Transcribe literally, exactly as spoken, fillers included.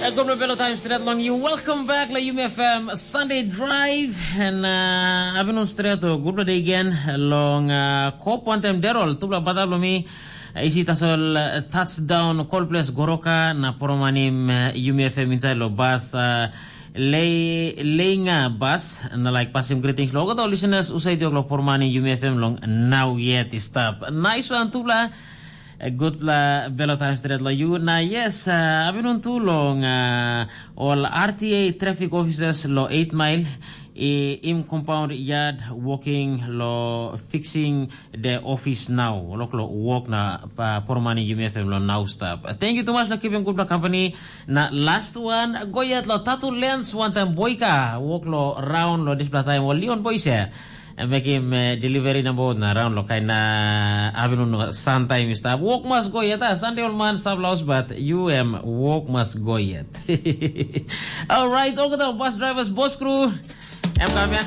Gutpela belo taim stret long you. Welcome back la Yumi F M Sunday Drive. And uh, abinun stret o gutpela day again long uh, kop wantem derol tupela bata lo mi. Isi tasol uh, touchdown Cold Place Goroka na poromanim uh, Yumi F M inside lo bas uh, le, leinga bas na like pasim greetings lo olgeta listeners usai diok lo poromanim Yumi F M long now yet i stap. Nice one tupela. Gutpela belo taim stret lo you. Na yes, uh, abinun tu long uh, ol R T A traffic officers lo eight mile i im compound yard working lo fixing the office now. Lo klo work na uh, pormani Yumi F M lo now stop. Thank you too much lo keeping gutpela company. Na last one, go yet lo Tatu Lens one time boika work lo round lo dispela time o Leon boys ya. Mekim uh, delivery na boat na round lo kain na abinun santaim i stap. Work must go yet, ah, Sunday ol man stap laus but you em work must go yet. Alright, olgeta bus drivers, bus crew, em kam ya.